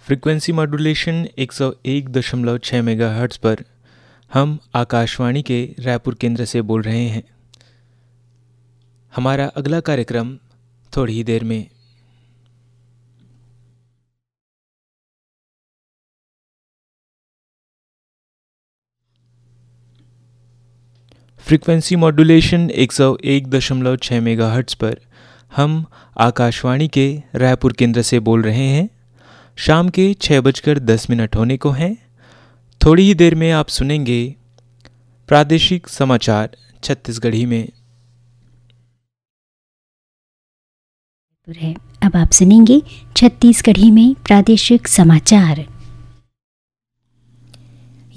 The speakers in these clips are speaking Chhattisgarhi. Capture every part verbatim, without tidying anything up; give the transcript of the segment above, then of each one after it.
फ्रीक्वेंसी मॉड्यूलेशन एक सौ एक दशमलव छः मेगाहर्ट्ज़ पर हम आकाशवाणी के रायपुर केंद्र से बोल रहे हैं। हमारा अगला कार्यक्रम थोड़ी ही देर में। फ्रीक्वेंसी मॉड्यूलेशन एक सौ एक दशमलव छः मेगाहर्ट्ज़ पर हम आकाशवाणी के रायपुर केंद्र से बोल रहे हैं। शाम के छः बजकर दस मिनट होने को हैं। थोड़ी ही देर में आप सुनेंगे प्रादेशिक समाचार छत्तीसगढ़ी में। है। अब आप सुनेंगे छत्तीसगढ़ी में प्रादेशिक समाचार।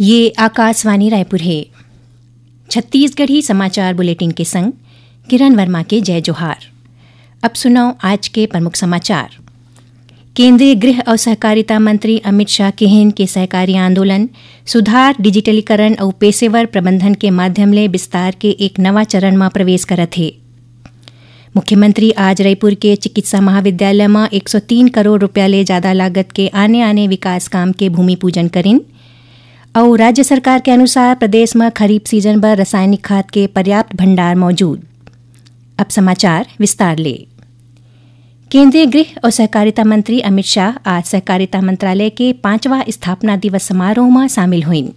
ये आकाशवाणी रायपुर है। छत्तीसगढ़ी समाचार बुलेटिन के संग किरण वर्मा के जय जोहार। अब सुनव आज के प्रमुख समाचार। केंद्रीय गृह अउ सहकारिता मंत्री अमित शाह किहिन के सहकारी आंदोलन, सुधार, डिजिटलीकरण अउ पेशेवर प्रबंधन के माध्यम ले विस्तार के एक नवा चरण म प्रवेश करत हे। मुख्यमंत्री आज रईपुर के चिकित्सा महाविद्यालय म एक सौ तीन करोड़ रुपया ले जादा लागत के आने-आने विकास काम के भूमि पूजन करिन। अउ राज्य सरकार के अनुसार प्रदेश म खरीफ सीजन बर रासायनिक खाद के पर्याप्त भंडार मौजूद। अब समाचार विस्तार ले। केंद्रीय गृह अउ सहकारिता मंत्री अमित शाह आज सहकारिता मंत्रालय के पांचवा स्थापना दिवस समारोह म शामिल होइन।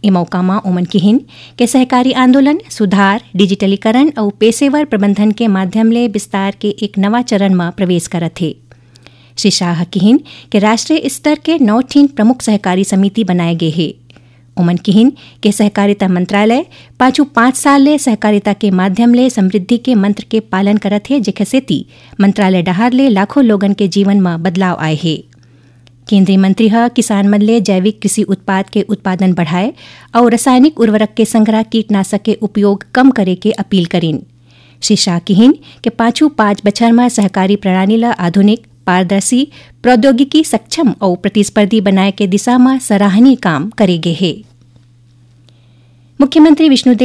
ए मौका म ओमन किहिन के सहकारी आंदोलन, सुधार, डिजिटलीकरण अउ पेशेवर प्रबंधन के माध्यम ले विस्तार के एक नवा चरण म प्रवेश करत हे। श्री शाह किहिन के राष्ट्रीय स्तर के नौ ठिन प्रमुख सहकारी समिति बनाए गे हे। ओमन किहिन के सहकारिता मंत्रालय पाछू पांच साल ले सहकारिता के माध्यम ले समृद्धि के मंत्र के पालन करत हे, जेखर सेती मंत्रालय डहार ले लाखों लोगन के जीवन म बदलाव आए हे। केंद्रीय मंत्री ह किसान मन ले जैविक कृषि उत्पाद के उत्पादन बढ़ाए अउ रासायनिक उर्वरक के संघरा कीटनाशक के उपयोग कम करे के अपील करिन। श्री शाह किहिन के पाछू पांच बछर म सहकारी प्रणाली ल आधुनिक, पारदर्शी, प्रौद्योगिकी सक्षम अउ प्रतिस्पर्धी बनाए के दिशा म सराहनीय काम करे गे हे। मुख्यमंत्री विष्णुदेव